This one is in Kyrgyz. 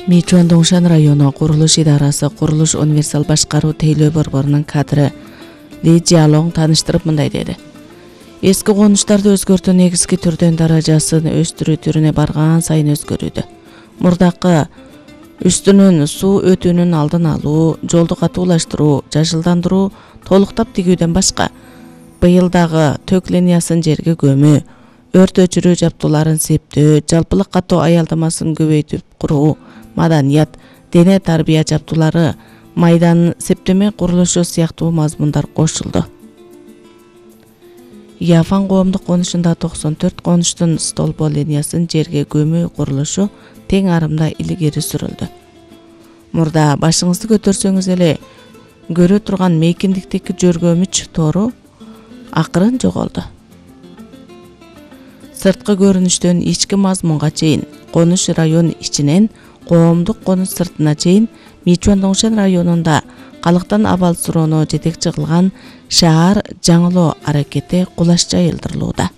Мичуан Доңшан району курулуш идарасы курулуш универсал башкаруу тейлөө борборунун кадры Ли Жиалоң тааныштырып мындай деди. Эски конуштарды өзгөртүү негизги түрдөн даражасын өстүрүү түрүнө барган сайын өзгөрүүдө. Мурдакы үстүнөн суу өтүүнүн алдын алуу, жолду катуулаштыруу, жашылдандыруу, толуктап тигүүдөн башка быйыл дагы төк линиясын жерге көмүү, өрт өчүрүү жабдууларын септөө, жалпылык катуу аялдамасын көбөйтүп куруу, маданият, дене тарбия жабдуулары, майдан септеме курулушу сыяктуу мазмундар кошулду. Яфан коомдук конушунда 94 конуштун столбо линиясын жерге көмүү курулушу тең арымда илгери сүрүлдү. Мурда башыңызды көтөрсөңүз эле көрө турган мейкиндиктеги жөргөмүч тору акырын жоголду. Сырткы көрүнүштөн ички мазмунга чейин, конуш район ичинен коомдук конуш сыртына чейин Мичуан Доңшан районунда калктан абал суроону жетекчи кылган шаар жаңылоо аракети кулаш жайылдырылууда.